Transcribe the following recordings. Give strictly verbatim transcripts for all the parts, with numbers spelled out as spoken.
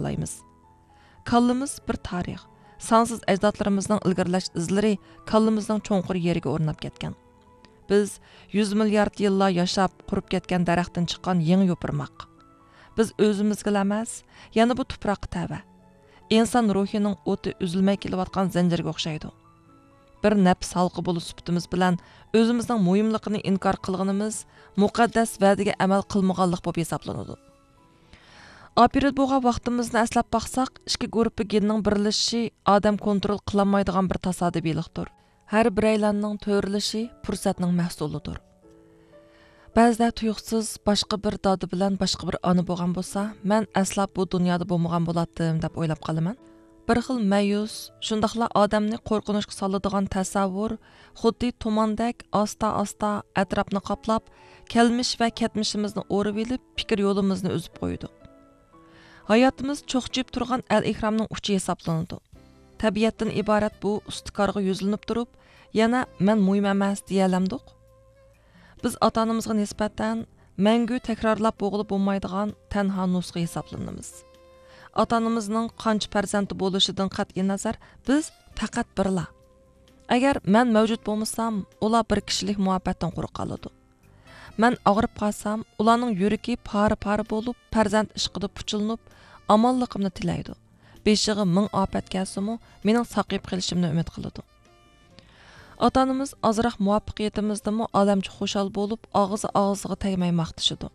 ئالايمىز. كاللىمىز بىر تارىخ، سانسىز ئەجدادلىرىمىزنىڭ ئىلگىرىلەش ئىزلىرى كاللىمىزنىڭ چوڭقۇر يېرىگە ئورناپ كەتكەن. بىز يۈز مىليارد يىللار ياشاپ، قۇرۇپ كەتكەن دەرەختىن چىققان يېڭى يوپۇرماق. بىز ئۆزىمىزگىلا ئەمەس، يەنە بۇ تۇپراققا تەۋە. ئىنسان روھىنىڭ ئوتى ئۈزۈلمەي كېلىۋاتقان زەنجىرگە ئوخشايدۇ. بىر نەپس ھالقا بولۇش سۈپىتىمىز بىلەن ئۆزىمىزنىڭ مۇھىملىقىنى ئىنكار قىلغىنىمىز مۇقەددەس ۋەدىگە ئەمەل قىلمىغانلىق بولۇپ ھېسابلىنىدۇ. ئاپىرىدە بولغان ۋاقتىمىزنى ئەسلەپ باقساق، ئىككى گۇرۇپپا گېننىڭ بىرلىشىشى ئادەم كونترول قىلالمايدىغان بىر تاسادىپىيلىقتۇر. ھەر بىرەيلەننىڭ تۆرىلىشى پۇرسەتنىڭ مەھسۇلىدۇر. بەزىدە تۇيۇقسىز باشقا بىر دادا بىلەن باشقا بىر ئانا بولغان بولسا، مەن ئەسلا بۇ دۇنيادا بولمىغان بولاتتىم، دەپ ئويلاپ قالىمەن. بىر خىل مەيۈس، شۇنداقلا ئادەمنى قورقۇنچقا سالىدىغان تەسەۋۋۇر خۇددى تۇماندەك ئاستا-ئاستا ئەتراپنى قاپلاپ، كەلمىش ۋە كەتمىشىمىزنى ئورىۋېلىپ، پىكىر يولىمىزنى ئۈزۈپ قويىدۇ. ھاياتىمىز چوقچىيىپ تۇرغان ئەل ئېھرامنىڭ ئۇچى ھېسابلىنىدۇ. تەبىئەتتىن ئىبارەت بۇ ئۇستىكارغا يۈزلىنىپ تۇرۇپ، يەنە مەن مۇھىم ئەمەس دېيەلەمدۇق؟ بىز ئاتا-ئانىمىزغا نىسبەتەن مەڭگۈ تەكرارلاپ بولغىلى بولمايدىغان تەنھا نۇسخا ھېسابلىنىمىز. ئاتا-ئانىمىزنىڭ قانچە پەرزەنتى بولۇشىدىن قەتئىينەزەر، بىز پەقەت بىرلا. ئەگەر مەن مەۋجۇت بولمىسام، ئۇلار بىر كىشىلىك مۇھەببەتتىن قۇرۇق قالىدۇ. مەن ئاغرىپ قالسام، ئۇلارنىڭ يۈرىكى پارە-پارە بولۇپ، پەرزەنت ئىشقىدا پۇچىلىنىپ، ئامانلىقىمنى تىلەيدۇ. بېشىغا مىڭ ئاپەت كەلسىمۇ، مېنىڭ ساقىيىپ قېلىشىمنى ئۈمىد قىلىدۇ. ئاتا-ئانىمىز ئازراق مۇۋەپپەقىيىتىمىزدىمۇ ئالەمچە خۇشال بولۇپ، ئاغزى ئاغزىغا تەگمەي ماختىشىدۇ.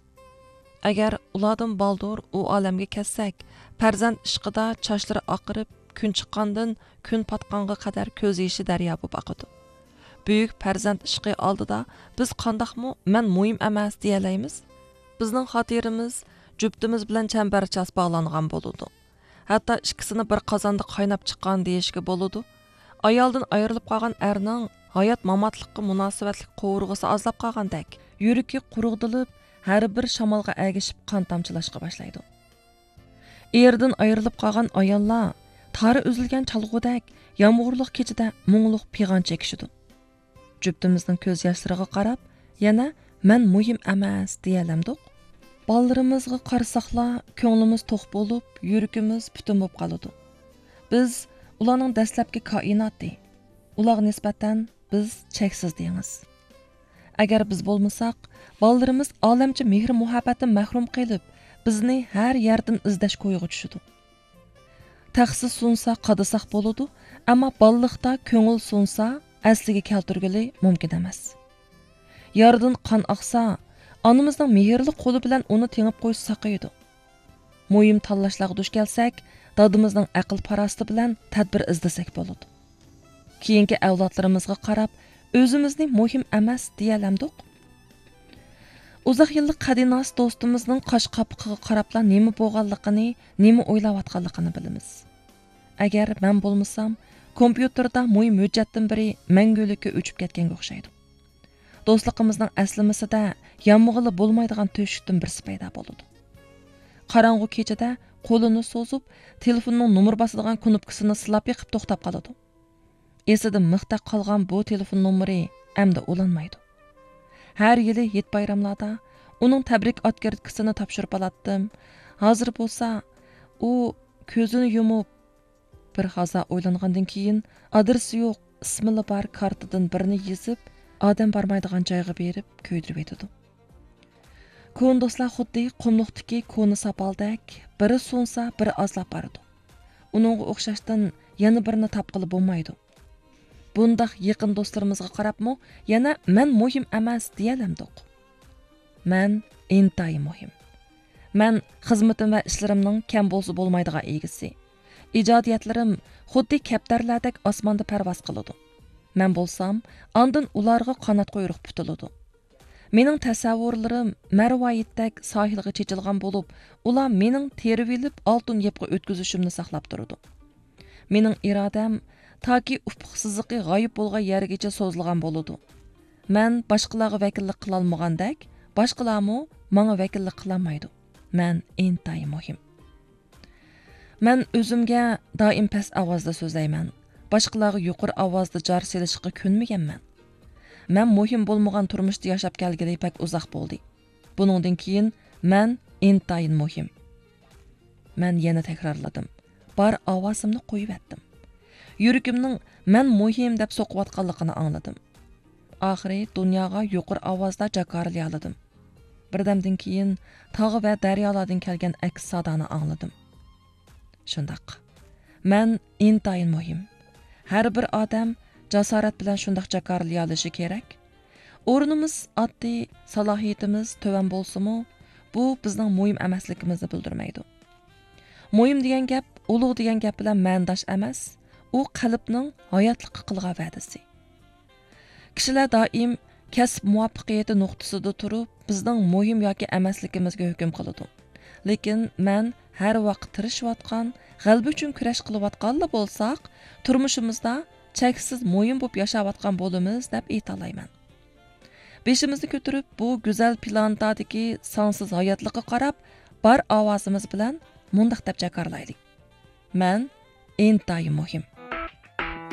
ئەگەر ئۇلاردىن بالدۇر ئۇ ئالەمگە كەتسەك، پەرزەنت ئىشقىدا چاچلىرى ئاقىرىپ، كۈن چىققاندىن كۈن پاتقانغا قەدەر كۆز يېشى دەريا بولۇپ ئاقىدۇ. بۈيۈك پەرزەنت ئىشقى ئالدىدا بىز قانداقمۇ «مەن مۇھىم ئەمەس» دېيەلەيمىز؟ بىزنىڭ خاتىرىمىز جۈپتىمىز بىلەن چەمبەرچاس باغلانغان بولىدۇ. ھەتتا ئىككىسىنى بىر قازاندا قايناپ چىققان دېيىشكە بولىدۇ. ئايالدىن ئايرىلىپ قالغان ئەرنىڭ ھايات-ماماتلىققا مۇناسىۋەتلىك قوۋۇرغىسى ئازلاپ قالغاندەك، يۈرىكى قۇرۇقدىلىپ، ھەر بىر شامالغا ئەگىشىپ قان تامچىلاشقا باشلايدۇ. ئېرىدىن ئايرىلىپ قالغان ئاياللار تارى ئۈزۈلگەن چالغۇدەك يامغۇرلۇق كېچىدە مۇڭلۇق پىغان چېكىشىدۇ. جۈپتىمىزنىڭ كۆز ياشلىرىغا قاراپ، يەنە «مەن مۇھىم ئەمەس» دېيەلەمدۇق؟ بالىلىرىمىزغا قارىساقلا، كۆڭلىمىز توق بولۇپ، يۈرىكىمىز پۈتۈن بولۇپ قالىدۇ. بىز ئۇلارنىڭ دەسلەپكى كائىناتى. ئۇلارغا نىسبەتەن بىز چەكسىز دېڭىز. ئەگەر بىز بولمىساق، بالىلىرىمىز ئالەمچە مېھىر-مۇھەببەتتىن مەھرۇم قېلىپ، بىزنى ھەر يەردىن ئىزدەش كويىغا چۈشىدۇ. تەخسە سۇنسا قادىساق بولىدۇ، ئەمما بالىلىقتا كۆڭۈل سۇنسا ئەسلىگە كەلتۈرگىلى مۇمكىن ئەمەس. يارىدىن قان ئاقسا، ئانىمىزنىڭ مېھىرلىك قولى بىلەن ئۇنى تېڭىپ قويسا ساقىيىدۇ. مۇھىم تاللاشلارغا دۇچ كەلسەك، دادىمىزنىڭ ئەقىل-پاراسىتى بىلەن تەدبىر ئىزدىسەك بولىدۇ. كېيىنكى ئەۋلادلىرىمىزغا قاراپ، ئۆزىمىزنى مۇھىم ئەمەس دېيەلەمدۇق؟ ئۇزاق يىللىق قەدىناس دوستىمىزنىڭ قاش قاپىقىغا قاراپلا نېمە بولغانلىقىنى، نېمە ئويلاۋاتقانلىقىنى بىلىمىز. ئەگەر مەن بولمىسام، كومپيۇتېردا مۇھىم ھۆججەتتىن بىرى مەڭگۈلۈككە ئۆچۈپ كەتكەنگە ئوخشايدۇ. دوستلۇقىمىزنىڭ ئەسلىمىسىدە يانمىغىلى بولمايدىغان تۆشۈكتىن بىرسى پەيدا بولىدۇ. قاراڭغۇ كېچىدە قولىنى سوزۇپ، تېلېفوننىڭ نومۇر باسىدىغان كۇنۇپكىسىنى سىلاپ بېقىپ توختاپ قالىدۇ. ئېسىدە مىختەك قالغان بۇ تېلېفون نومۇرى ئەمدى ئۇلانمايدۇ. ھەر يىلى ھېيت-بايراملاردا ئۇنىڭ تەبرىك ئاتكىرتكىسىنى تاپشۇرۇپ ئالاتتىم. ھازىر بولسا ئۇ كۆزىنى يۇمۇپ، بىر ھازا ئويلانغاندىن كېيىن، ئادرېسى يوق، ئىسمىلا بار كارتىدىن بىرنى يېزىپ، ئادەم بارمايدىغان جايغا بېرىپ كۆيدۈرۈۋېتىدۇ. كونا دوستلار خۇددى قۇملۇقتىكى كونا ساپالدەك، بىرى سۇنسا، بىرى ئازلاپ بارىدۇ. ئۇنىڭغا ئوخشاشتىن يەنە بىرىنى تاپقىلى بولمايدۇ. بۇنداق يېقىن دوستلىرىمىزغا قاراپمۇ يەنە «مەن مۇھىم ئەمەس» دېيەلەمدۇق؟ مەن ئىنتايىن مۇھىم. مەن خىزمىتىم ۋە ئىشلىرىمنىڭ كەم بولسا بولمايدىغان ئىگىسى. ئىجادىيەتلىرىم خۇددى كەپتەرلەردەك ئاسماندا پەرۋاز قىلىدۇ. مەن بولسام، ئاندىن ئۇلارغا قانات قۇيرۇق پۈتۈلىدۇ. مېنىڭ تەسەۋۋۇرلىرىم مەرۋايىتتەك ساھىلغا چېچىلغان بولۇپ، ئۇلار مېنىڭ تېرىۋېلىپ ئالتۇن يىپقا ئۆتكۈزۈشۈمنى ساقلاپ تۇرىدۇ. مېنىڭ ئىرادەم تاكى ئۇپۇق سىزىقى غايىب بولغان يەرگىچە سوزۇلغان بولىدۇ. مەن باشقىلارغا ۋەكىللىك قىلالمىغاندەك، باشقىلارمۇ ماڭا ۋەكىللىك قىلالمايدۇ. مەن ئىنتايىن مۇھىم. مەن ئۆزۈمگە دائىم پەس ئاۋازدا سۆزلەيمەن. باشقىلارغا يۇقىرى ئاۋازدا جار سېلىشقا كۆنمىگەنمەن. مەن مۇھىم بولمىغان تۇرمۇشتا ياشاپ كەلگىلى بەك ئۇزاق بولدى. بۇنىڭدىن كېيىن مەن ئىنتايىن مۇھىم. مەن يەنە تەكرارلىدىم. بار ئاۋازىمنى قويۇۋەتتىم. يۈرىكىمنىڭ مەن مۇھىم دەپ سوقۇۋاتقانلىقىنى ئاڭلىدىم. ئاخىرى دۇنياغا يۇقىرى ئاۋازدا جاكارلىيالىدىم. بىردەمدىن كېيىن تاغ ۋە دەريالاردىن كەلگەن ئەكس سادانى ئاڭلىدىم. شۇنداق. مەن ئىنتايىن مۇھىم. ھەر بىر ئادەم جاسارەت بىلەن شۇنداق جاكارلىيالىشى كېرەك. ئورنىمىز ئاددىي، سالاھىيىتىمىز تۆۋەن بولسىمۇ، بۇ بىزنىڭ مۇھىم ئەمەسلىكىمىزنى بىلدۈرمەيدۇ. مۇھىم دېگەن گەپ ئۇلۇغ دېگەن گەپ بىلەن مەنىداش ئەمەس، ئۇ قەلبنىڭ ھاياتلىققا قىلغان ۋەدىسى. كىشىلەر دائىم كەسىپ مۇۋەپپەقىيىتى نۇقتىسىدا تۇرۇپ، بىزنىڭ مۇھىم ياكى ئەمەسلىكىمىزگە ھۆكۈم قىلىدۇ. لېكىن مەن ھەر ۋاقىت تىرىشىۋاتقان، غەلىبە ئۈچۈن كۈرەش قىلىۋاتقانلا بولساق، تۇرمۇشىمىزدا چەكسىز مۇھىم بولۇپ ياشاۋاتقان بولىمىز دەپ ئېيتالايمەن. بېشىمىزنى كۆتۈرۈپ، بۇ گۈزەل پلانېتادىكى سانسىز ھاياتلىققا قاراپ، بار ئاۋازىمىز بىلەن مۇنداق دەپ جاكارلايلى: مەن ئىنتايىن مۇھىم.